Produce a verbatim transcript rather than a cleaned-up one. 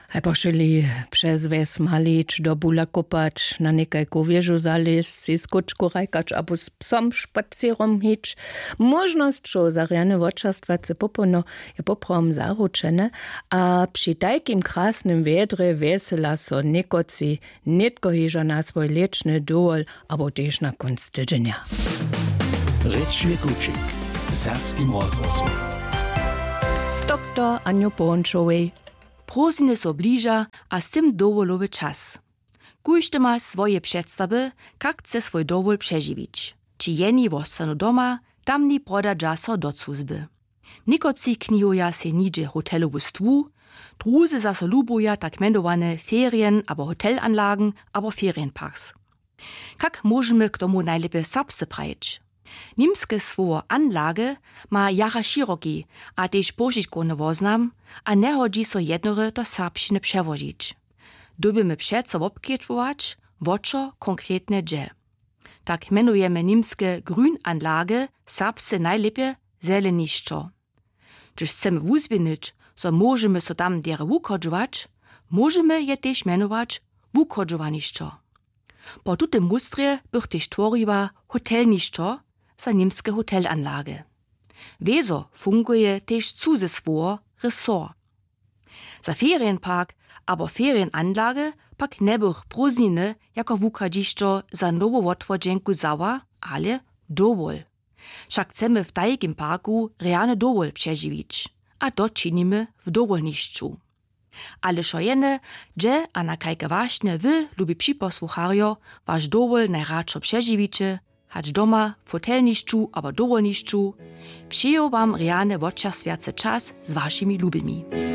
Haj pošuli přez wjes malić, do bula kopać, na někajku wěžu zalězć, sej skóčku hrajkać abo z psom špacěrom hić. Móžnosćow za rjane wočerstwace popołdnjo je poprawom zaručene, a při tajkim krasnym wjedrje wjesela so někotři nětko hižo na swój lěćny dowol abo tež na kónc tydźenja. Rěčny kućik w serbskim rozhłosu z doktor Anju Połnčowej. Prózdniny so bliža, a z tym dowolowy čas. Kóždy ma swoje předstawy, kak chce swój dowol přežiwić. Ći jeni wostanu doma, tamni prodadźa so do cuzby. Někotři knihuja sej nihdźe hotelowu stwu, druzy zaso lubuja tak mjenowane ferien- abo hotelanlagen abo ferienparks. Kak móžemy k tomu najlěpje serbsce prajić? Nimske słowo Anlage ma jara široki a tež pošitkowny woznam a njehodźi so jednore do serbšćiny přełožić. Dyrbimy přeco wobkedźbować, wo čo konkretnje dźe. Tak mjenujemy nimske Grünanlage, serbsce najlěpje zelenišćo. Hdyž chcemy wuzběhnyć, zo móžemy so tam derje wuchodźować, móžemy je tež mjenować wuchodźowanišćo. Po tutym mustrje bych tež tworiła hotelnišćo za nimske hotelanlage. Wězo funguje tež cuze słowo resort. Za ferienpark abo ferienanlage pak njebych prózdniny jako wuchadźišćo za nowu wotwodźenku wzała, ale dowol. Wšak chcemy w tajkim parku rjany dowol přežiwić, a to činimy w dowolnišću. Ale wšo jene, hdźe a na kajke wašnje wy, lubi připosłucharjo, waš dowol najradšo přežiwiće, hač doma, w hotelnišću abo dowolnišću, přeju wam rjany wočerstwjacy čas z wašimi lubimi.